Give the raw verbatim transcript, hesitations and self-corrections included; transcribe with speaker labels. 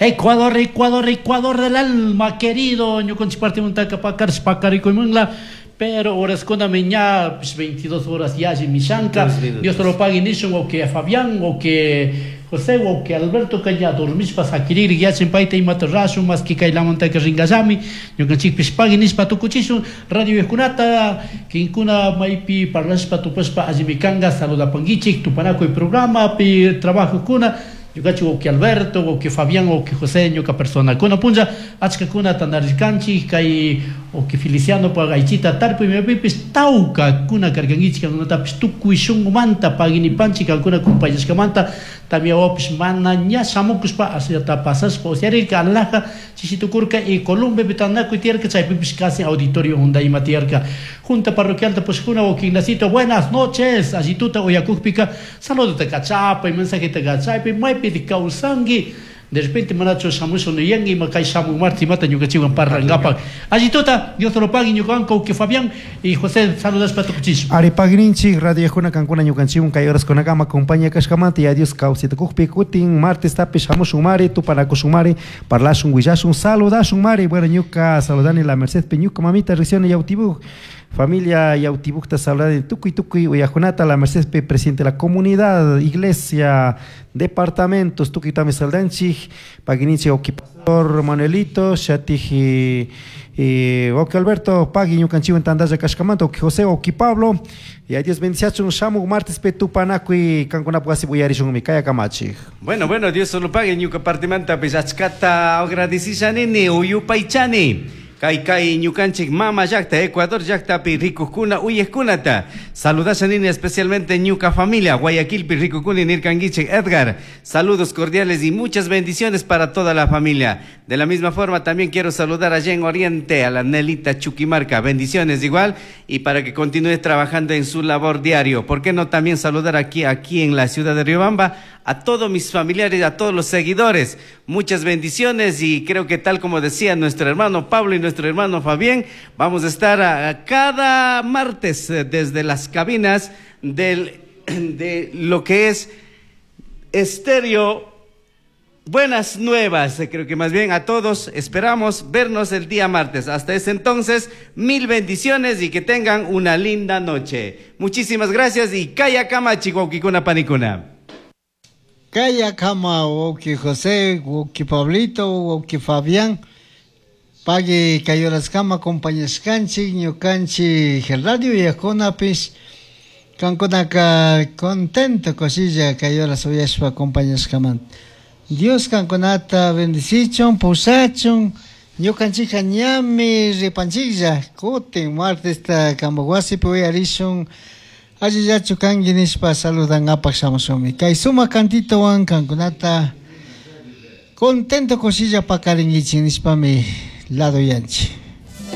Speaker 1: Ecuador, Ecuador, Ecuador del alma, querido. Ñukanchik partimantaka pakarish pakarikuymanla. Pero horaskunami ña pues, veintidós horas yalli mishanka. Dios te lo pague nishun o que Fabián o que José o que Alberto que ya dormishpa sakirir yachin payta imata rashun más que kaylamantaka ringallami. Ñukanchikpish pagui nishpa tukuchishun radio kunata kinkuna maypi parlashpa tupashpa allimi kanga saludapanguichik tupanakuy programapi trabajokuna. Ñukanchik wawqi Alberto, wawqi Fabián, wawqi José, ñuka persona. Kuna punlla achkakuna tandarirkanchik kay wawqi Feliciano pa aychita tarpuy maypipis tawka kuna karkankichik kankunatapish tukuy shunqumanta paguinipanchik kankuna kumpayashkamanta tamyawapish mana ña shamukushpa ashllata pasashpa usyarirka alhaja chishitukurka y Columbepi tanakuy tiyarka chaypipish casi auditorio hunda ima tiyarka. Junta parroquialta pushkuna wawqi Ignacito, buenas noches, allituta uyakukpika saludota kachapay, mensajeta kachapay, maypi kawsanki de repente manachu shamushun nuyanki ima kay shamun martes imata ñukanchikwan parlankapak. Allituta, Dios te lo pague ñukawan wawqi Fabián y José saludashpa tukuchishun.
Speaker 2: Ari paguininchik radiojuna kankuna ñukanchikwan kay horaskunakama compañía kashkamanta ya Dios kawsaytukukpi kutin martes tapish shamushun mari tupanakushun mari parlashun willashun saludashun mari. Bueno, ñuka saludani la Merced ñuka mamita recién Yautibuj familia Yautibujta saludani tukuy tukuy uyajunata la Merced presidente de la comunidad iglesia departamentos tukuy también saludanchik paguininchik wawqi pastor Manuelito shatij eh, wawqi Alberto pagui ñukanchikwan tantalla kashkamanta wawqi José wawqi Pablo y a Dios bendiciachun shamuk martes pe tupanakuy kankunapaq wasi uyarishunmi kaya kamachik.
Speaker 3: Bueno, bueno, Dios solo pague ñuka partimanta pues achkata agradecishani uyupaychani. Kay kay ñukanchik mama llaqta Ecuador llaqtapi rikukuna uyaqkunata saludashanini especialmente ñuka familia Guayaquilpi rikukuni nirkankichik Edgar, saludos cordiales y muchas bendiciones para toda la familia. De la misma forma también quiero saludar allá en Oriente a la Nelita Chuquimarca, bendiciones igual y para que continúe trabajando en su labor diario. ¿Por qué no también saludar aquí, aquí en la ciudad de Riobamba a todos mis familiares, a todos los seguidores? Muchas bendiciones y creo que tal como decía nuestro hermano Pablo y nuestro hermano Fabián, vamos a estar a, a cada martes eh, desde las cabinas del, de lo que es Estéreo Buenas Nuevas. Creo que más bien a todos esperamos vernos el día martes. Hasta ese entonces, mil bendiciones y que tengan una linda noche. Muchísimas gracias y kaya kama wawqikuna panikuna.
Speaker 4: Kaya kama wawqi José, wawqi Pablito, wawqi Fabián. Pagui kay horaskama acompañashkanchik ñukanchik radio uyajkunapis kankunaka contento kushilla kay horas uyashpa acompañashkamanta. Dios kankunata bendicichun, pusachun, ñukanchikka ñami ripanchiklla kutin martesta kampak wasipi uyarishun allillachu kanki nishpa saludangapak shamushunmi. Kay sumak cantitowan kankunata contento kushilla pakarinkichik nishpami lado yanchi.